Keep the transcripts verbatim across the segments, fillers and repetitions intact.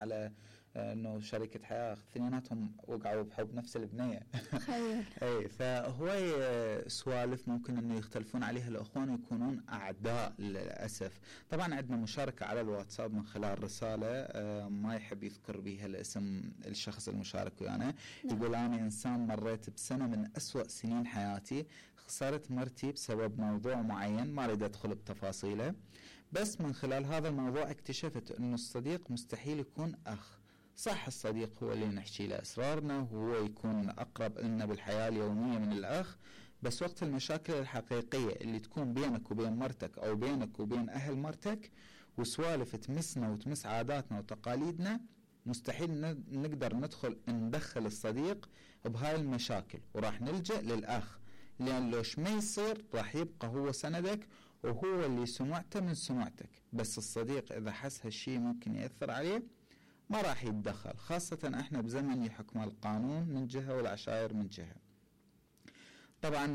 على انه شريكة حياة اثنيناتهم وقعوا بحب نفس البنية. تخيل. اي فهواي سوالف ممكن انه يختلفون عليها الاخوان ويكونون اعداء للاسف. طبعا عندنا مشاركة على الواتساب من خلال رسالة ما يحب يذكر بها الاسم الشخص المشارك ويانا. يقول انا انسان مريت بسنة من اسوأ سنين حياتي، خسرت مرتي بسبب موضوع معين ما اريد ادخل بتفاصيله، بس من خلال هذا الموضوع اكتشفت انه الصديق مستحيل يكون اخ. صح الصديق هو اللي نحكي له اسرارنا وهو يكون اقرب لنا بالحياة اليومية من الاخ، بس وقت المشاكل الحقيقية اللي تكون بينك وبين مرتك او بينك وبين اهل مرتك وسوالف تمسنا وتمس عاداتنا وتقاليدنا، مستحيل نقدر ندخل ندخل الصديق بهاي المشاكل، وراح نلجأ للاخ، لأن لوش ما يصير راح يبقى هو سندك وهو اللي سمعته من سمعتك. بس الصديق إذا حس هالشي ممكن يأثر عليه ما راح يتدخل، خاصة احنا بزمن يحكم القانون من جهة والعشائر من جهة. طبعا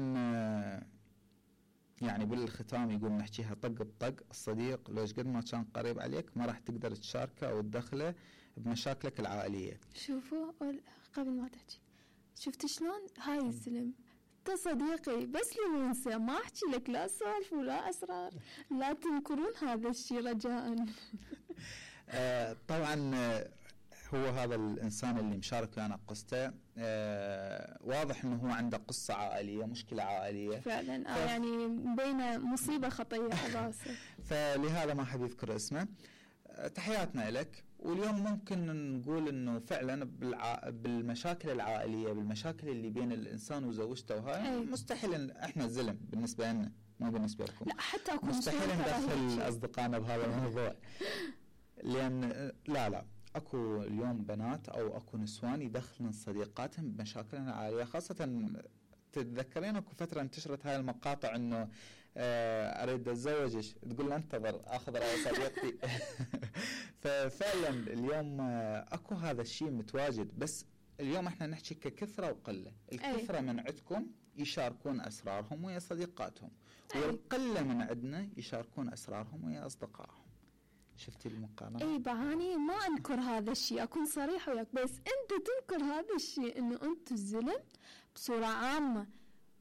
يعني بالختام يقول نحكيها طق بطق، الصديق لوش قد ما كان قريب عليك ما راح تقدر تشاركه أو تدخله بمشاكلك العائلية. شوفوا قبل ما تحكي، شفت شلون هاي السلم انت صديقي بس لي ننسى، ما احكي لك لا سوالف ولا اسرار، لا تنكرون هذا الشيء رجاء. آه طبعا هو هذا الانسان اللي مشارك ويانا قصته آه واضح انه هو عنده قصة عائلية، مشكلة عائلية فعلا. آه ف... يعني بين مصيبة خطية على راسه. فلهذا ما حد يذكر اسمه. تحياتنا لك. واليوم ممكن نقول انه فعلا بالع... بالمشاكل العائليه، بالمشاكل اللي بين الانسان وزوجته وهاي مستحيل احنا زلم بالنسبه لنا، مو بالنسبه لكم. لا حتى اكون مستحيل ندخل اصدقائنا بهذا الموضوع. لان لا لا اكو اليوم بنات او اكو نسوان يدخلن صديقاتهم بمشاكلهم العائليه، خاصه تتذكرين اكو فتره انتشرت هاي المقاطع انه آه اريد اتزوجك، تقول له انتظر اخذ راي صديقتي. ففعلا اليوم آه اكو هذا الشيء متواجد، بس اليوم احنا نحكي ككثره وقله. الكثره من عندكم يشاركون اسرارهم ويا صديقاتهم، والقله من عندنا يشاركون اسرارهم ويا اصدقائهم. شفتي المقارنة؟ اي بعاني ما انكر هذا الشيء، اكون صريحة وياك، بس انت تنكر هذا الشيء انه انتم الزلم بصورة عامة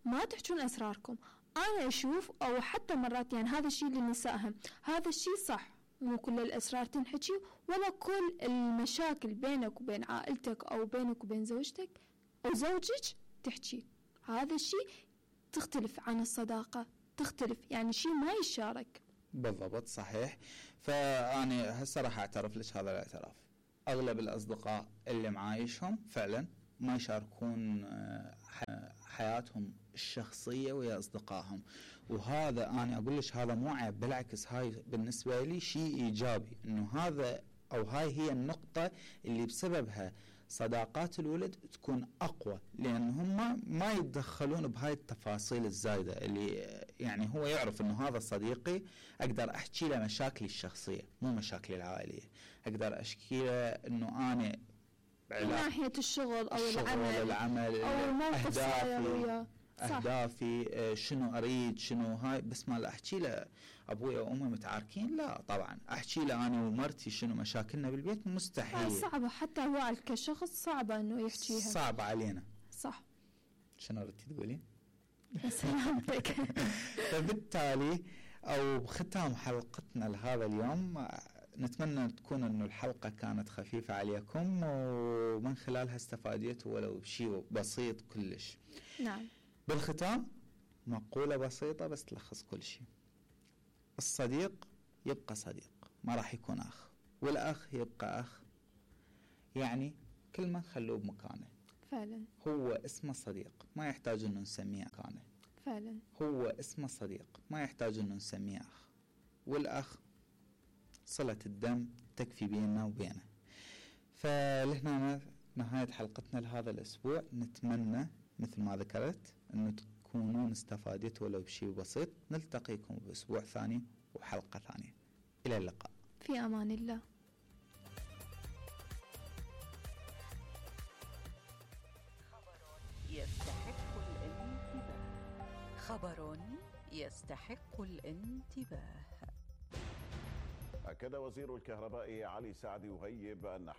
ما تحجون اسراركم. انا اشوف او حتى مرات يعني هذا الشيء للنساء، هذا الشيء صح، مو كل الاسرار تنحكي ولا كل المشاكل بينك وبين عائلتك او بينك وبين زوجتك او زوجك تحكي. هذا الشيء تختلف عن الصداقة، تختلف يعني شيء ما يشارك. بالضبط صحيح. فأنا هسه راح أعترف لك هذا الاعتراف، أغلب الأصدقاء اللي معايشهم فعلا ما يشاركون حياتهم الشخصية ويا أصدقائهم، وهذا أنا أقول لك هذا مو عيب، بالعكس هاي بالنسبة لي شيء إيجابي، إنه هذا أو هاي هي النقطة اللي بسببها صداقات الولد تكون أقوى، لأن هم ما يتدخلون بهاي التفاصيل الزايدة اللي يعني هو يعرف إنه هذا صديقي أقدر أحكي له مشاكلي الشخصية مو مشاكلي العائلية، أقدر أحكي له إنه أنا من ناحية الشغل أو الشغل العمل, العمل أو الموقف أهدافي أهدافي شنو أريد شنو هاي، بس ما لا أحكي له أبوي وأمي متعاركين، لا طبعا أحكي له أنا ومرتي شنو مشاكلنا بالبيت مستحيل. صعبة حتى هو كشخص صعبة إنه يحكيها، صعبة علينا. صح. شنو ردتي تقولين؟ سلامتك. فبالتالي أو ختام حلقتنا لهذا اليوم نتمنى تكون أنه الحلقة كانت خفيفة عليكم ومن خلالها استفاديتوا ولو بشيء بسيط كلش. نعم. بالختام مقولة بسيطة بس تلخص كل شيء، الصديق يبقى صديق ما راح يكون أخ، والأخ يبقى أخ، يعني كل ما خلوه بمكانه. فعلا. هو اسمه صديق ما يحتاج أنه نسميه مكانه. فعلا. هو اسمه صديق ما يحتاج أنه نسميه أخ، والأخ صلة الدم تكفي بيننا وبينه. فلهنا نهاية حلقتنا لهذا الأسبوع، نتمنى مثل ما ذكرت أنه تكونون استفادتوا ولو بشيء بسيط. نلتقيكم بأسبوع ثاني وحلقة ثانية، إلى اللقاء، في أمان الله. يستحق الانتباه. خبر يستحق الانتباه. أكد وزير الكهرباء علي سعد يغيب أن